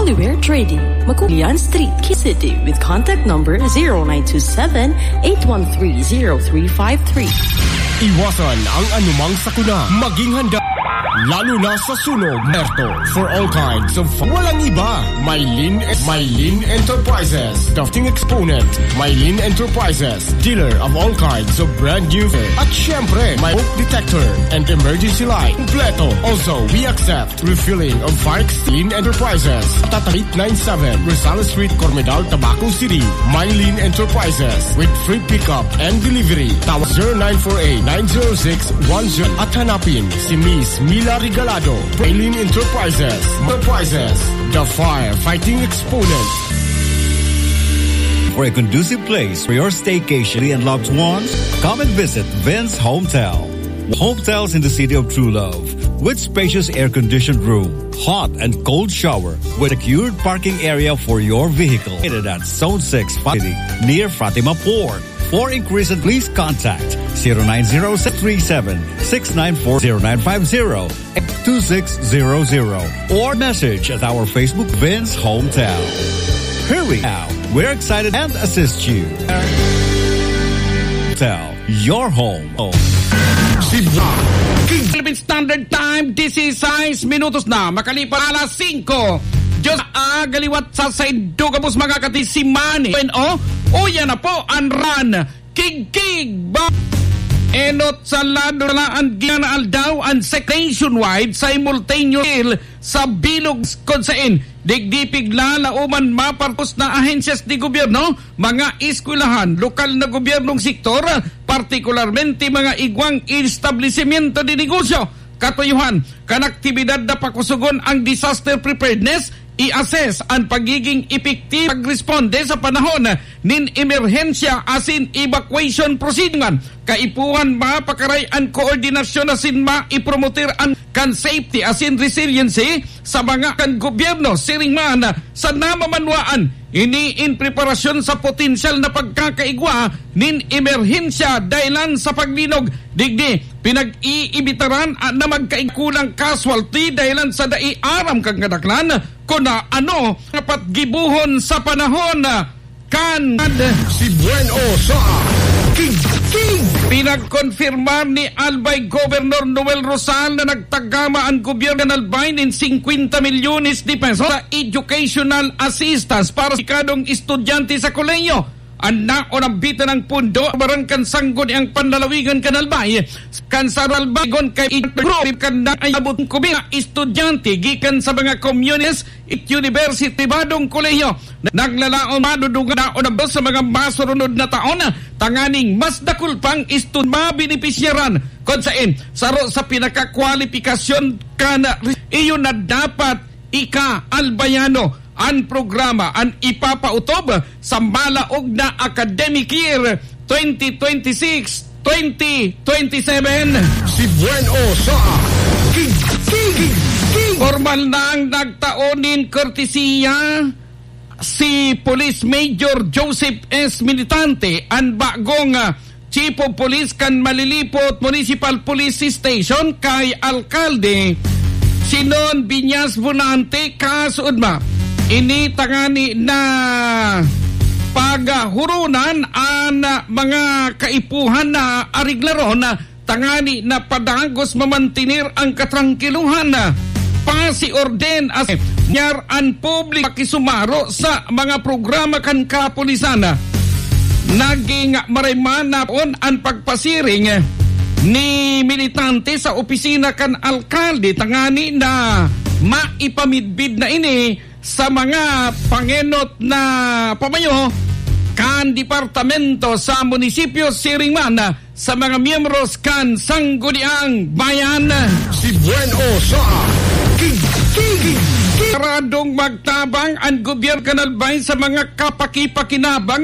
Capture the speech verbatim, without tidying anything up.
Anywhere Trading, Makulian Street, Quezon City, with contact number zero nine two seven, eight one three, zero three five three. Iwasan ang anumang sakuna. Maging handa, lalo na sa sunog. Merto, for all kinds of fun. Walang iba. Mylene, Mylene Enterprises, the fighting exponent. Mylene Enterprises, dealer of all kinds of brand new. At syempre, may smoke detector and emergency light. Kompleto. Also, we accept refilling of fire extinguisher. Enterprises. Tatak eight nine seven, Rosales Street, Cormedal, Tabaco City. Mylene Enterprises with free pickup and delivery. Tawag zero nine four eight, nine zero six, one zero at hanapin si Miss Mila Regalado. Mylene Enterprises. Enterprises, the firefighting exponent. For a conducive place for your staycation and loved ones, come and visit Vince Hometel. Hotels in the city of true love, with spacious air-conditioned room, hot and cold shower, with secured parking area for your vehicle. Located at Zone six, City, near Fatima Port. For inquiries, please contact zero nine zero six three seven six nine four, zero nine five zero two six zero zero, or message at our Facebook, Vince Hometown. Here we are. We're excited and assist you. Tell your home. Oh. Cebu. Philippine Standard Time, disisais minutos na. Makalipas alas singko. Diyos, ah, galiwat sa saindo gabos, mga katisimani. Bueno, uya na po an ran. Kigkig ba? Enot sa lado na an ginaaldaw an sek-, nationwide simultaneous sa bilog, kun sain digdi pigla laoman mapartos na ahensyas de gobyerno, mga eskwelahan, lokal na gobyernong sektor, partikularmente mga igwang establisimyento de negosyo. Katuyohan kan aktibidad na pakusogon ang disaster preparedness, i-assess an pagiging epektibo pagresponde sa panahon nin emerhensya asin evacuation proceedings. Kaipuhan mapakaray an koordinasyon asin maipromote an kan safety asin resiliency sa mga kan gobyerno, siring man sa namamanwaan. Ini in preparasyon sa potensyal na pagkakaigwa nin emerhensya dahelan sa paglinog. Digdi, pinag-iimbitaran na magkaigwa kulang casualty dahelan sa dai aram kan kadaklan kun ano dapat gibohon sa panahon kan si Bueno sa Kigkig. Pinagkonfirmar ni Albay Governor Noel Rosal na nagtagama ang gobyerno kan Albay nin singkwenta milyones de pesos sa educational assistance para sa kadong estudyante sa kolehiyo. An naonambitan ang pondo, barang kan Sangguniang Panlalawigan kan Albay, kan sa Albay, gon kay grupo kan na ay abot ko mga estudyante gikan sa mga communities it university, pribadong kolehiyo. Naglalaom, madudungan na o nabos sa mga masurunod na taon, tanganing mas dakul pang estud-, mabenepisyaran. Kun sain, saro sa pinakakwalipikasyon kan, iyo na dapat ika-Albayano an programa an ipapautob sa malaog na academic year twenty twenty-six, twenty twenty-seven. Si Bueno sa Kig-, Kig-, Kig-, Formal nang nagtao nin kortesiya si Police Major Joseph S. Militante, an bagong, ah, Chief of Police kan Malilipot Municipal Police Station kay Alkalde Sinon Viñas Bonante, kasuodma. Ini tangani na paghuronan an mga kaipuhan na areglaron tangani na padagos mamantener ang katrangkilohan. Pasiorden as nyar an publiko pakisumaro sa mga programa kan kapulisan. Naging marayman na poon an pagpasiring ni Militante sa opisina kan alkalde tangani na maipamidbid na ini sa mga pangenot na pamayo kan departamento sa munisipyo, siring man sa mga miyembros kan Sangguniang Bayan. Si Bueno sa Kig-, Kig-, Kig-, Saradong magtabang an gobyerno kan Albay sa mga kapakipakinabang